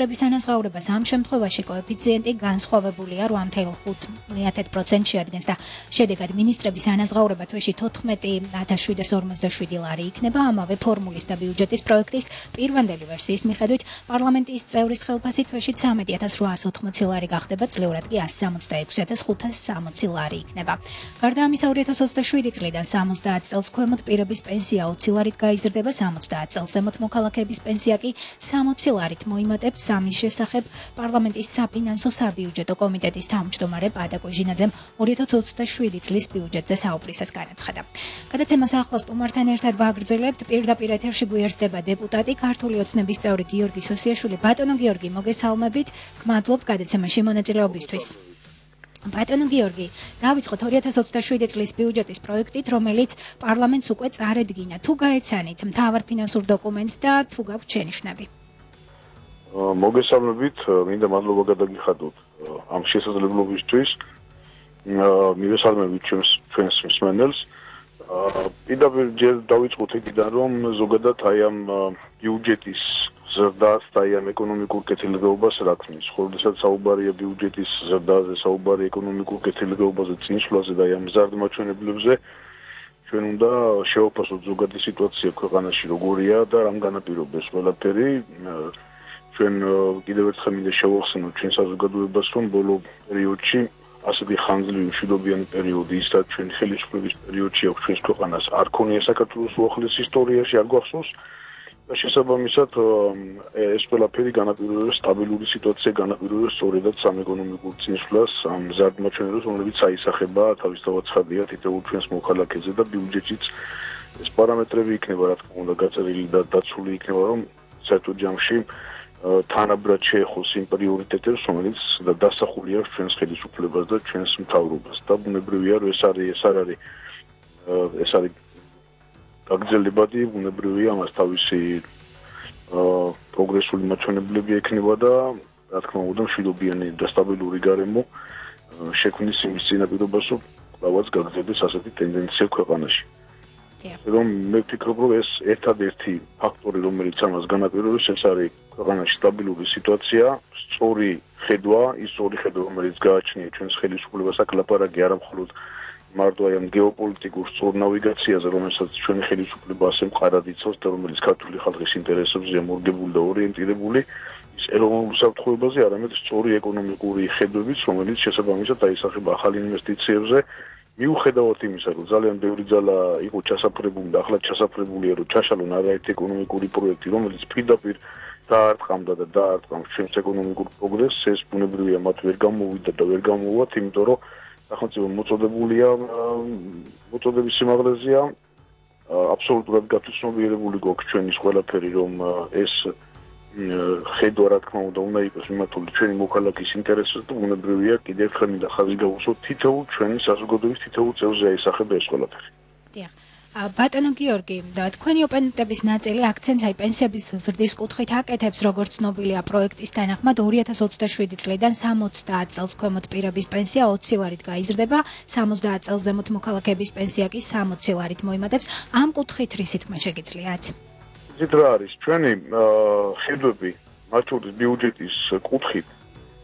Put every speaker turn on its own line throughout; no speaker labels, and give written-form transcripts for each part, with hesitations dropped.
მინისტრების ანაზღაურებას ამ შემთხვევაში კოეფიციენტი განსხვავებულია 8.5%-ში ადგენს და შედეგად მინისტრების ანაზღაურება თვეში 14.747 ლარი იქნება. ამავე ფორმულის და ბიუჯეტის პროექტის პირვანდელი ვერსიის მიხედვით პარლამენტის წევრის ხელფასი თვეში 13.880 ლარი გახდება, წლიურად კი 166.560 ლარი იქნება. გარდა ამისა 2027 წლიდან 70 წელს ქვემოთ პირების პენსია 20 ლარით გაიზრდება, 70 წელს ზემოთ მოქალაქეების პენსია კი 60 ლარით მოიმატებს. ამის შესახებ პარლამენტის საფინანსო საბიუჯეტო კომიტეტის თავმჯდომარე პატა კოჟინაძემ 2027 წლის ბიუჯეტზე საუბრისას განაცხადა. გადაცემას ახლა სტუმართან ერთად ვაგრძელებთ. პირდაპირ ეთერში გვერდება დეპუტატი, ქართული ოცნების წევრი გიორგი სოსიაშვილი. ბატონო გიორგი, მოგესალმებით. გმადლობთ გადაცემაში მონაწილეობისთვის. ბატონო გიორგი, დავიწყოთ 2027 წლის ბიუჯეტის პროექტით, რომელიც პარლამენტს უკვე წარედგინა. თუ გაეცანით მთავარ ფინანსურ დოკუმენტს და თუ გაქვთ შენიშვნები.
მოგესალმებით, მინდა მადლობა გადაგიხადოთ ამ შესაძლებლობისთვის. მივესალმებით ჩვენს მსმენელს. პირდაპირ ჯერ დავიწყოთ იქიდან, რომ ზოგადად აი ამ ბიუჯეტის ზრდას და აი ამ ეკონომიკურ კეთილდღეობას რა ქმნის. ხორცაც საუბარია ბიუჯეტის ზრდაზე, საუბარია ეკონომიკურ კეთილდღეობაზე, წინსვლაზე და აი ამ მზარდ მაჩვენებლებზე. ჩვენ უნდა შევაფასოთ ზოგადი სიტუაცია ქვეყანაში როგორია და რამ განაპირობებს ყველაფერი. ჩვენ კიდევ ერთხელ მინდა შევახსენოთ ჩვენ საზოგადოებას, რომ ბოლო პერიოდში ასეთი ხანძლივი მშვიდობიანი პერიოდი ის რაც ჩვენ ხელისუფლების პერიოდში აქვს ჩვენს ქვეყანას არ ქონია საქართველოს უახლეს ისტორიაში, არ გვახსოვს. შესაბამისად ეს ყველაფერი განაპირობებს სტაბილური სიტუაცია განაპირობებს სწორედაც ამ ეკონომიკურ წინსვლას, ამ მზარდ მაჩვენებლებს, რომლებიც აისახება თავისთავად ცხადია თითოეულ ჩვენს მოქალაქეზე და ბიუჯეტშიც ეს პარამეტრები იქნება რა თქმა უნდა გაწერილი და დაცული იქნება, რომ საერთოდ ჯამში თანაბრად შეეხოს იმ პრიორიტეტებს, რომელიც დასახული აქვს ჩვენს ხელისუფლებას და ჩვენს მთავრობას. და ბუნებრივია, რომ ეს არის გაგრძელებადი, ბუნებრივია, ამას თავისი პროგრესული მაჩვენებლები ექნება და რა თქმა უნდა მშვიდობიანი და სტაბილური გარემო შექმნის იმის წინაპირობას, რომ კვლავაც გაგრძელდეს ასეთი ტენდენცია ქვეყანაში. რომ მე ვფიქრობ, რომ ეს ერთადერთი ფაქტორი, რომელიც ამას განაპირობებს, ეს არის ქვეყანაში სტაბილური სიტუაცია, სწორი ხედვა, რომელიც გააჩნია ჩვენს ხელისუფლებას, აქ ლაპარაკი არა მხოლოდ მარტო აი ამ გეოპოლიტიკურ სწორ ნავიგაციაზე, რომელსაც ჩვენი ხელისუფლება ასე მყარად იცავს და რომელიც ქართული ხალხის ინტერესებზეა მორგებული და ორიენტირებული, ის ეროვნულ უსაფრთხოებაზე, არამედ სწორი ეკონომიკური ხედვებით, რომელიც შესაბამისად აისახება ახალ ინვესტიციებზე. მიუხედავად იმისა, რომ ძალიან ბევრი ძალა იყო ჩასაფრებული და ახლა ჩასაფრებულია, რომ ჩაშალონ არაერთი ეკონომიკური პროექტი, რომელიც პირდაპირ დაარტყამდა და დაარტყამს ჩვენს ეკონომიკურ პროგრესს, ეს ბუნებრივია მათ ვერ გამოვიდა და ვერ გამოვათ, იმიტომ რომ სახელმწიფო მოწოდების სიმაღლეზეა აბსოლუტურად გათვითცნობიერებული გვაქვს ჩვენის ყველაფერი, რომ ეს ხედვა რა თქმა უნდა იყოს მიმართული ჩვენი მოქალაქის ინტერესებს და ბუნებრივია კიდევ ერთხელ მინდა ხაზი გავუსვოთ თითოეულ ჩვენი საზოგადოების თითოეულ წევრზე აისახება ეს ყველაფერი.
დიახ. ბატონო გიორგი, თქვენი ოპონენტების ნაწილი აქცენტს აი პენსიების ზრდის კუთხით აკეთებს, როგორც ცნობილია პროექტის თანახმად 2027 წლიდან 70 წელს ქვემოთ პირების პენსია 20 ლარით გაიზრდება, 70 წელს ზემოთ მოქალაქეების პენსია კი 60 ლარით მოიმატებს. ამ კუთხით რისი თქმა შეგიძლიათ?
იცით რა არის, ჩვენი ხედვები მათ შორის ბიუჯეტის კუთხით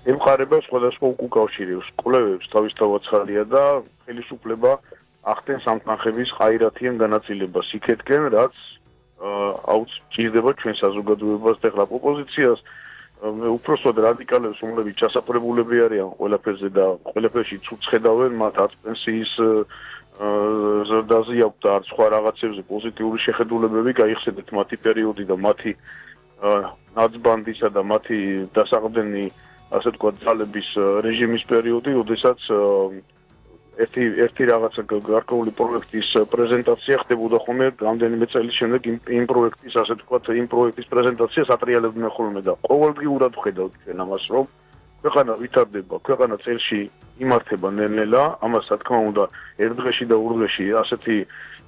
ემყარება სხვადასხვა უკავშირებს, კვლევებს თავისთავად ხალხია და ხელისუფლება ახდენს ამ თანხების ყაირათიან განაწილებას იქეთკენ, რაც ჭირდება ჩვენ საზოგადოებას და ახლა ოპოზიციას უпроსოდ რადიკალებს, რომლებიც ჩასაფრებულები არიან ყველაფერზე და ყველაფერში ცუც ხედავენ, მათ არც პენსიის ზრდაზე აქვს და არც სხვა რაღაცებზე პოზიტიური შეხედულებები, გაიხსენეთ მათი პერიოდი და მათი ნაცბანდისა და მათი დასაყრდენი, ასე ვთქვათ, ძალების რეჟიმის პერიოდი, როდესაც ერთი რაღაცა გარკვეული პროექტის პრეზენტაცია ხდებოდა ხოლმე რამდენიმე წელი შემდეგ იმ პროექტის, ასე ვთქვათ, იმ პროექტის პრეზენტაციას ატრიალებდნენ ხოლმე და ყოველდღიურად ვხედავთ ჩვენ ამას, რომ ქვეყანა ვითარდება, ქვეყანა წელში იმართება ნელ-ნელა, ამას რა თქმა უნდა ერთ დღეში და ორ დღეში ასეთი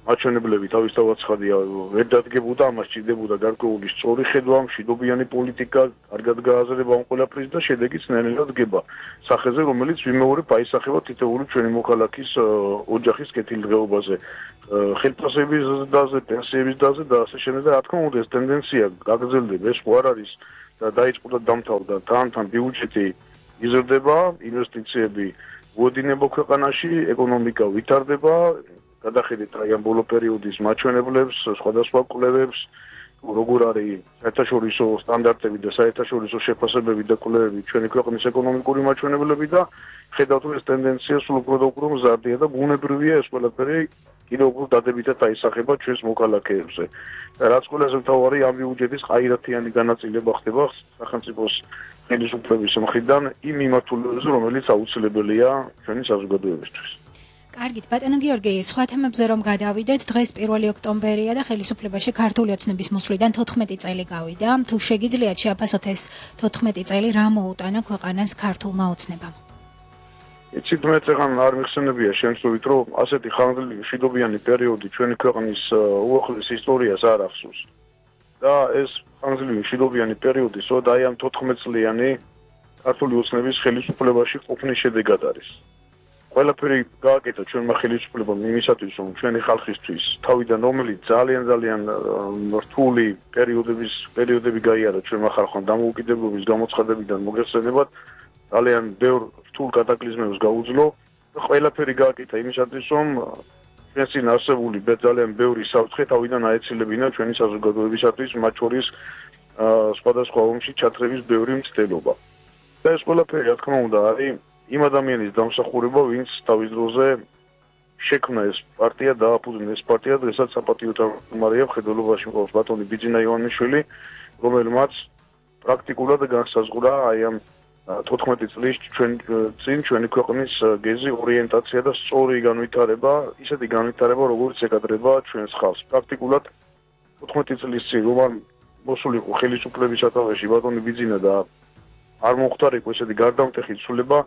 მაჩვენებლები თავისთავად ცხადია ვერ დადგებოდა, ამას ჭირდებოდა გარკვეული სწორი ხედვა, მშვიდობიანი პოლიტიკა, კარგად გააზრება ამ ყველაფრის და შედეგიც ნელ-ნელა დგება სახეზე, რომელიც ვიმეორებ აისახება თითოეული ჩვენი მოქალაქის ოჯახის კეთილდღეობაზე, ხელფასების დაზე, პენსიების დაზე და ასე შემდეგ და რა თქმა უნდა ეს ტენდენცია გაგრძელდება, ეს ხო არ არის და დაიწყო და დამთავრდა თან ბიუჯეტი იზრდება, ინვესტიციები მოედინება ქვეყანაში, ეკონომიკა ვითარდება, გადახედეთ აი ამ ბოლო პერიოდის მაჩვენებლებს, სხვადასხვა კვლევებს, როგორ არის საერთაშორისო სტანდარტები და საერთაშორისო შეფასებები და კვლევები ჩვენი ქვეყნის ეკონომიკური მაჩვენებლები და ხედავთ რომ ეს ტენდენცია სულ უფრო და უფრო მზარდია და ბუნებრივია ეს ყველაფერი კიდევ უფრო დადებითად აისახება ჩვენს მოქალაქეებზე. რაც ყველაზე მთავარი ამ ბიუჯეტის ყაირათიანი განაწილება ხდება სახელმწიფოს ხელისუფლების მხრიდან იმ მიმართულებებზე, რომელიც აუცილებელია ჩვენი საზოგადოებისთვის.
კარგით, ბატონო გიორგი, სხვა თემებზე რომ გადავიდეთ, დღეს 1 ოქტომბერია და ხელისუფლებაში ქართული ოცნების მოსვლიდან 14 წელი გავიდა. თუ შეგიძლიათ შეაფასოთ ეს 14 წელი რა მოუტანა ქვეყანას ქართულმა ოცნებამ?
იცით, მე წეგან არ მიხსენებია შემთხვევით, რომ ასეთი ხანგრძლივი მშვიდობიანი პერიოდი ჩვენი ქვეყნის უახლოეს ისტორიას არ ახსოვს. და ეს ხანგრძლივი მშვიდობიანი პერიოდი სწორედ აი ამ 14 წლიანი ქართული ოცნების ხელისუფლებაში ყოფნის შედეგად არის. ყველაფერი გააკეთა ჩვენმა ხელისუფლებამ იმისათვის, რომ ჩვენი ხალხისთვის თავიდან რომელიც ძალიან რთული პერიოდები გაიარა ჩვენმა ხალხმა დამოუკიდებლობის გამოცხადებიდან მოგეხსენებათ, ძალიან ბევრ რთულ კატაკლიზმებს გაუძლო და ყველაფერი გააკეთა იმისათვის, რომ ჩვენს წინ არსებული ძალიან ბევრი საფრთხე თავიდან აეცილებინა ჩვენი საზოგადოებისათვის, მათ შორის სხვადასხვა ომში ჩათრების ბევრი მცდელობა. და ეს ყველაფერი, რა თქმა უნდა, არის იმ ადამიანის დამსახურება, ვინც თავის დროზე შექმნა ეს პარტია, დააფუძნა ეს პარტია, დღესაც საპატიო თავმჯდომარეა მხედველობაში მყოფ ბატონი ბიძინა ივანიშვილი, რომელმაც პრაქტიკულად განსაზღვრა აი ამ 14 წლის ჩვენი ქვეყნის გეზი ორიენტაცია და სწორი განვითარება, ისეთი განვითარება, როგორც ეკადრება ჩვენს ხალხს. პრაქტიკულად 14 წლის წინ რომ მოსულიყო ხელისუფლების სათავეში ბატონი ბიძინა და არ მომხდარიყო ესეთი გარდამტეხი ცვლილება,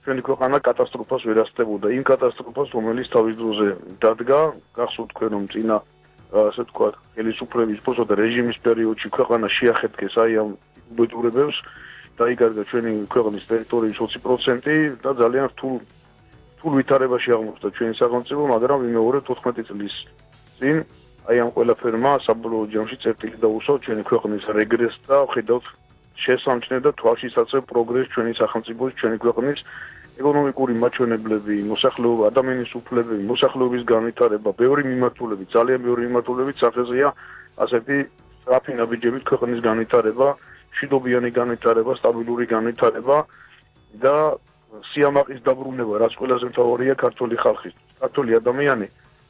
ჩვენი ქვეყანა კატასტროფას ვერასწრებოდა. იმ კატასტროფას, რომელიც თავის დროზე დადგა, გახსოვთ თქვენ რომ წინა ასე ვთქვათ, ხელისუფლების პოსტ და რეჟიმის პერიოდში ქვეყანა შეახეთქეს აი ამ უბედურებებს, დაიკარგა ჩვენი ქვეყნის ტერიტორიის 20% და ძალიან რთულ ვითარებაში აღმოჩნდა ჩვენი სახელმწიფო, მაგრამ ვიმეორებ 14 წლის წინ აი ამ ყველაფერმა საბოლოო ჯამში წერტილი დაუსვა ჩვენი ქვეყნის რეგრესს და ხედავთ შესამჩნევ და თვალშისაცემ პროგრესს ჩვენი სახელმწიფოს, ჩვენი ქვეყნის ეკონომიკური მაჩვენებლები, მოსახლეობა, ადამიანის უფლებები, მოსახლეობის განვითარება, ძალიან ბევრი მიმართულებით სახეზეა ასეთი სწრაფი ნაბიჯებით ქვეყნის განვითარება, მშვიდობიანი განვითარება, სტაბილური განვითარება და სიამაყის დაბრუნება, რაც ყველაზე მთავარია ქართული ხალხისთვის. ქართული ადამიანი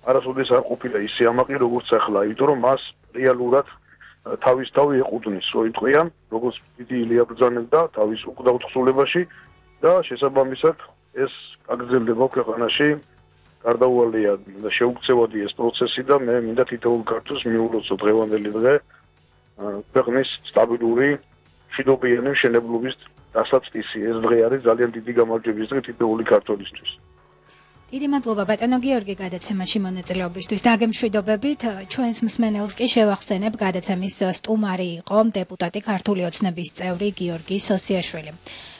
არასოდეს არ ყოფილა ის სიამაყი, როგორც ახლა, იმიტომ რომ მას რეალურად თავის თავი ეყუდნის, როიტყვიან, როგორც დიდი ილია ბრძანებდა თავის უკვდავ თხზულებაში და შესაბამისად ეს გაგრძელდება ქვეყანაში. გარდაუვალია და შეუქცევადი ეს პროცესი და მე მინდა თითოეულ ქართველს მიულოცო დღევანდელი დღე ქვეყნის სტაბილური მშვიდობიანი მშენებლობის დასაწყისი. ეს დღე არის ძალიან დიდი გამარჯვების დღე თითოეული ქართველისთვის.
დიდი მადლობა ბატონო გიორგი გადაცემაში მონაწილეობისთვის. დაგემშვიდობებით. ჩვენს მსმენელს კი შევახსენებ, გადაცემის სტუმარი იყო დეპუტატი ქართული ოცნების წევრი გიორგი სოსიაშვილი.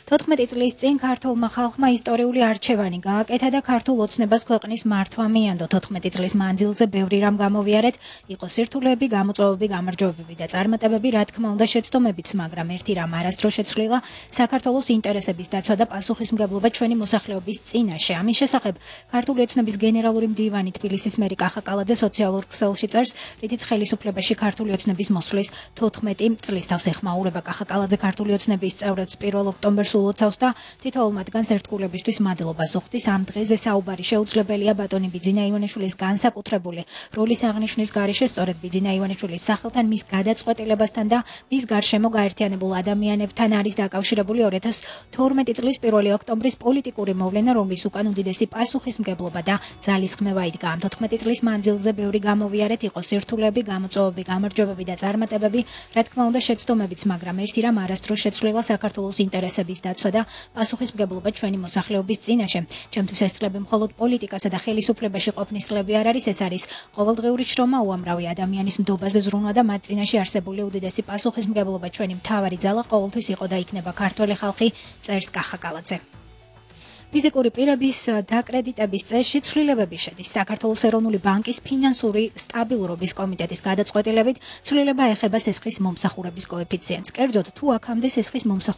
14 წლის წინ ქართულმა ხალხმა ისტორიული არჩევანი გააკეთა და ქართულ ოცნებას ქვეყნის მართვა მიანდო. 14 წლის მანძილზე ბევრი რამ გამოვიარეთ, იყო სირთულეები, გამოწვევები, გამარჯვებები და წარმატებები, რა თქმა უნდა შეცდომებიც, მაგრამ ერთი რამ არასდროს შეცვლილა, საქართველოს ინტერესების დაცვა და პასუხისმგებლობა ჩვენი მოსახლეობის წინაშე. ამის შესახებ ქართული ოცნების გენერალური მდივანი თბილისის მერი კახა კალაძე სოციალურ ქსელში წერს, რითიც ხელისუფლებაში ქართული ოცნების მოსვლის 14 წლის თავს ეხმაურება. კახა კალაძე ქართული ოცნების წევრებს 1 ოქტომბერს ულოცავს და თითოეულ მათგანს ერთგულებისთვის მადლობას უხდის. ამ დღეზე საუბარი შეუძლებელია ბატონი ბიძინა ივანიშვილის განსაკუთრებული როლის აღნიშვნის გარეშე, სწორედ ბიძინა ივანიშვილის სახელთან, მის გადაწყვეტილებასთან და მის გარშემო გაერთიანებულ ადამიანებთან არის დაკავშირებული 2012 წლის 1 ოქტომბრის პოლიტიკური მოვლენა, რომლის უკან უდიდესი პასუხისმგებლობა და ძალისხმევა იდგა. ამ 14 წლის მანძილზე ბევრი გამოვიარეთ, იყო სირთულეები, გამოწვევები, გამარჯვებები და წარმატებები, რა თქმა უნდა შეცდომებიც, მაგრამ ერთი რამ არასდროს შეცვლილა საქართველოს ინტერესების დაცვა და პასუხისმგებლობა ჩვენი მოსახლეობის წინაშე. ჩემთვის ეს წლები მხოლოდ პოლიტიკასა და ხელისუფლებაში ყოფნის წლები არ არის, ეს არის ყოველდღიური შრომა, უამრავი ადამიანის ნდობაზე ზრუნვა და მათ წინაშე არსებული უდიდესი პასუხისმგებლობა. ჩვენი მთავარი ძალა ყოველთვის იყო და იქნება ქართველი ხალხი, წერს კახა კალაძე. ფიზიკური პირების დაკრედიტების წესში ცვლილებები შედის საქართველოს ეროვნული ბანკის ფინანსური სტაბილურობის კომიტეტის გადაწყვეტილებით. ცვლილება ეხება სესხის მომსახურების კოეფიციენტს. კერძოდ, თუ აქამდე სესხის მომსახურების